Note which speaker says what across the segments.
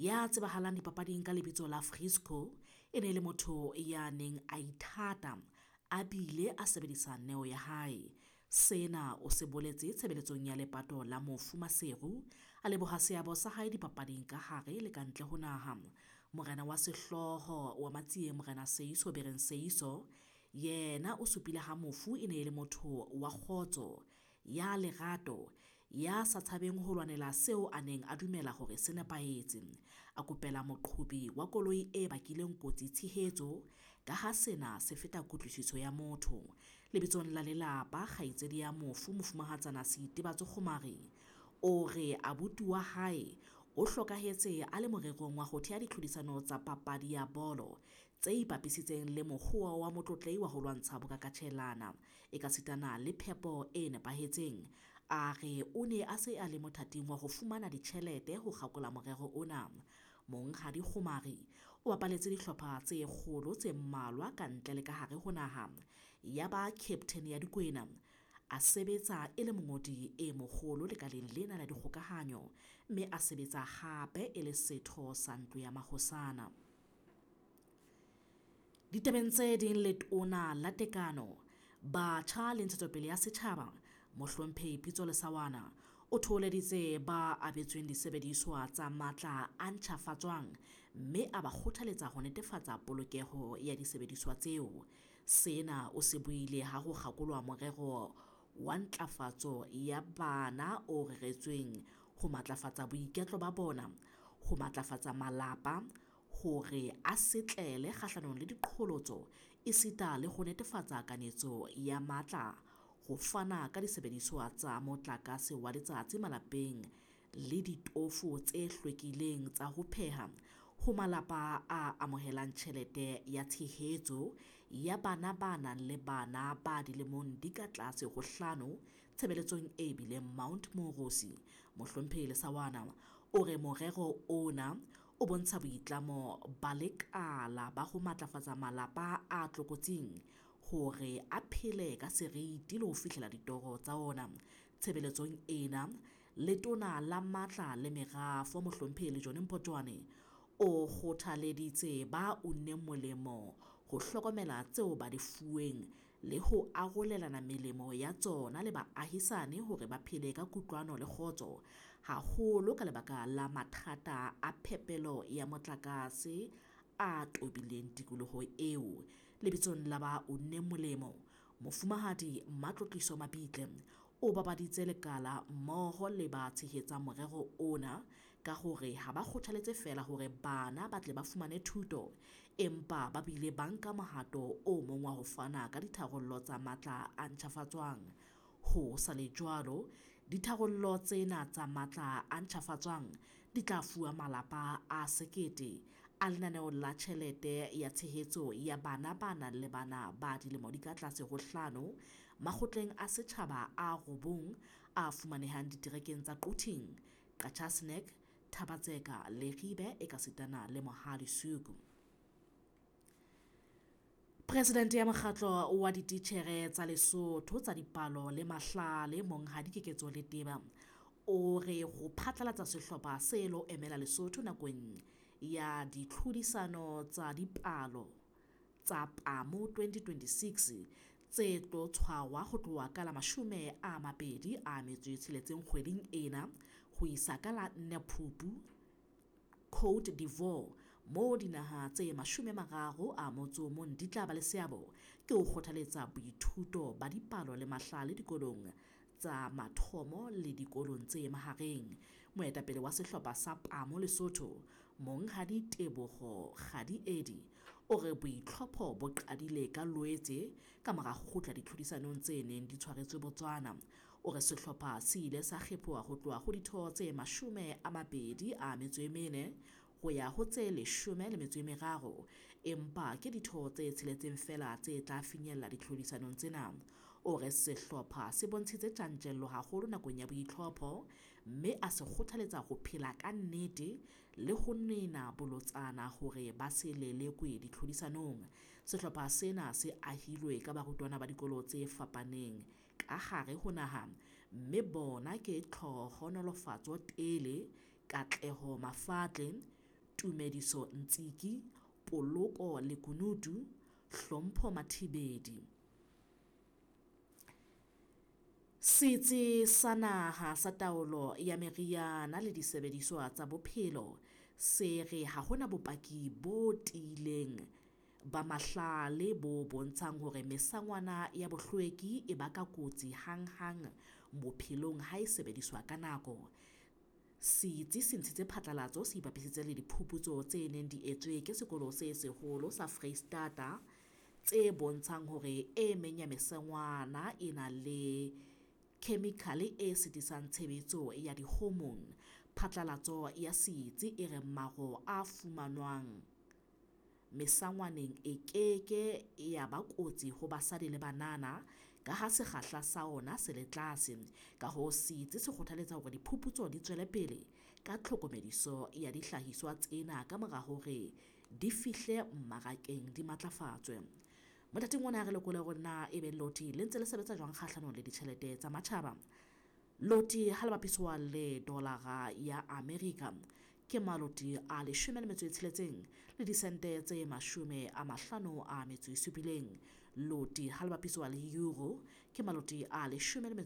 Speaker 1: Ya tsebahalang dipapading ka lebitso la Frisco e ne e le motho ya neng a ithata a bile a sebedisa neo ya hae. Sena o se boletse tshebeletsong ya lepato la mofu Maseru, a leboha seabo sa hae dipapading ka hare le kantle ho naha. Morena wa sehlooho wa Matsieng Morena Seeiso Bereng Seeiso yena o supile ha mofu e ne e le motho wa kgotso, ya lerato, ya sa tshabeng ho lwanela seo a neng a dumela hore se nepahetse. A kopela moqhobi wa koloi e bakileng kotsi tshehetso ka ha sena se feta kutlwisiso ya motho. Lebitsong la lelapa, kgaitsedi ya mofu Mofumahatsana Seitebatso Kgomari o re abuti wa hae o hlokahetse a le morerong wa ho thea ditlhodisano tsa papadi ya bolo tse ipapisitseng le mokgwa wa Motlotlehi wa ho lwantsha bokakatjhelana ekasitana le phepo e nepahetseng. A re o ne a se a le mothating wa ho fumana ditjhelete ho kgakola morero ona. Monghadi Kgomari o bapaletse dihlopha tse kgolo tse mmalwa ka ntle le ka hare ho naha, ya ba captain ya Dikwena, a sebetsa e le mongodi e moholo lekaleng lena la dikgokahanyo, mme a sebetsa hape e le setho sa ntlo ya mahosana. Ditabeng tse ding, letona la tekano, batjha le ntshetsopele ya setjhaba, Mohlomphehi Pitso Lesawana o thoholeditse ba abetsweng disebediswa tsa matla a ntjhafatswang mme a ba kgothaletsa ho netefatsa polokeho ya disebediswa tseo. Sena o se buile ha ho kgakolwa morero wa ntlafatso ya bana o reretsweng ho matlafatsa boiketlo ba bona, ho matlafatsa malapa hore a setlele kgahlanong le diqholotso esita le ho netefatsa kanetso ya matla ho fana ka disebediswa tsa motlakase wa letsatsi malapeng le ditofo tse hlwekileng tsa ho pheha ho malapa a amohelang tjhelete ya tshehetso ya bana ba nang le bana ba dilemong di ka tlase ho hlano tshebeletsong e bileng Mount Moorosi. Mohlomphehi Lesawana o re morero ona o bontsha boitlamo ba lekala ba ho matlafatsa malapa a tlokotsing hore a phele ka seriti le ho fihlela ditoro tsa ona. Tshebeletsong ena, letona la matla le merafo Mohlomphehi Lejone Mpotjoane o kgothaleditse ba unneng molemo ho hlokomela tseo ba di fuweng le ho arolelana melemo ya tsona le baahisane hore ba phele ka kutlwano le kgotso, haholo ka lebaka la mathata a phepelo ya motlakase a tobileng tikoloho eo. Lebitsong la ba unneng molemo, Mofumahadi Mmatlotliso Mabitle o babaditse lekala mmoho le ba tshehetsang morero ona ka hore ha ba kgothaletse feela hore bana ba tle ba fumane thuto, empa ba bile ba nka mohato o mong wa ho fana ka ditharollo tsa matla a ntjhafatswang. Ho sa le jwalo, ditharollo tsena tsa matla a ntjhafatswang di tla fuwa malapa a 1000 a lenaneo la tjhelete ya tshehetso ya bana ba nang le bana ba dilemo di ka tlase ho hlano makgotleng a setjhaba a 9 a fumanehang diterekeng tsa Quthing, Qacha's Nek, Thaba-Tseka, Leribe ekasitana le Mohale's Hoek. Presidente ya mokgatlo wa dititjhere tsa Lesotho tsa dipalo le mahlale Monghadi Keketso Leteba o re ho phatlalatsa sehlopha se lo emela Lesotho nakong ya ditlhodisano tsa dipalo tsa PAMO 2026 tse tlo tshwarwa ho tloha ka la 26 kgweding ena ho isa ka la 4 Phupu Côte d'Ivoire, moo dinaha tse 31 di tla ba le seabo, ke ho kgothaletsa boithuto ba dipalo le mahlale dikolong tsa mathomo le dikolong tse mahareng. Moetapele wa sehlopha sa PAMO Lesotho, Monghadi Teboho Kgadiedi, o re boitlhopho bo qadile ka Loetse ka mora ho kgutla ditlhodisanong tse neng di tshwaretswe Botswana. O re sehlopha se ile sa kgephoha ho tloha ho ditho tse 24 ho ya ho tse 13, empa ke ditho tse 6 feela tse tla finyella ditlhodisanong tsena. O re sehlopha se bontshitse tjantjello haholo nakong ya boitlhopho, mme a se kgothaletsa ho phela ka nnete le ho nena bolotsana hore ba se lelekwe ditlhodisanong. Sehlopha sena se ahilwe ka barutwana ba dikolo tse fapaneng ka hare ho naha, mme bona ke Tlhohonolofatso Tele, Katleho Mafatle, Tumediso Ntsiki, Poloko Lekunutu, Hlompho Mathibedi. Setsi sa Naha sa Taolo ya Meriana le Disebediswa tsa Bophelo se re ha hona bopaki bo tiileng ba mahlale bo bontshang hore mesangwana ya bohlweki e baka kotsi hanghang bophelong ha e sebediswa ka nako. Setsi se ntshitse phatlalatso se ipapisitse le diphuputso tse neng di etswe ke Sekolo se Seholo sa Freistata tse bontshang hore e meng ya mesangwana e na le khemikhale e sitisang tshebetso ya di-hormone. Phatlalatso ya setsi e re maro a fumanwang mesangwaneng e keke ya ba kotsi ho basadi le banana ka ha sekgahla sa ona se le tlase. Ka hoo setsi se kgothaletsa hore diphuputso di tswele pele ka tlhokomediso ya dihlahiswa tsena ka mora hore di fihle mmarakeng di matlafatswe. Mothating ona re lekole hore na ebe loti le ntse le sebetsa jwang kgahlanong le ditjhelete tsa matjhaba. Loti ha le bapiswa le dolara ya Amerika ke maloti a 16 le disente tse 57. Loti ha le bapiswa le euro ke maloti a 19 le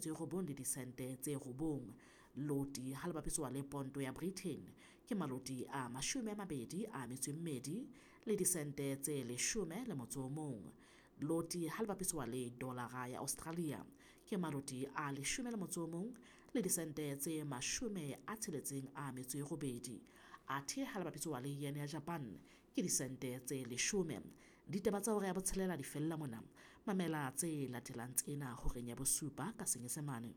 Speaker 1: disente tse 9. Loti ha le bapiswa le ponto ya Britain ke maloti a 22 le disente tse 11. Loti ha le bapiswa le dolara ya Australia ke maloti a 11 le disente tse 68. Athe ha le bapiswa le yen ya Japan ke disente tse 10. Ditaba tsa hora ya botshelela di fella mona. Mamela tse latelang tsena horeng ya bosupa ka Senyesemane.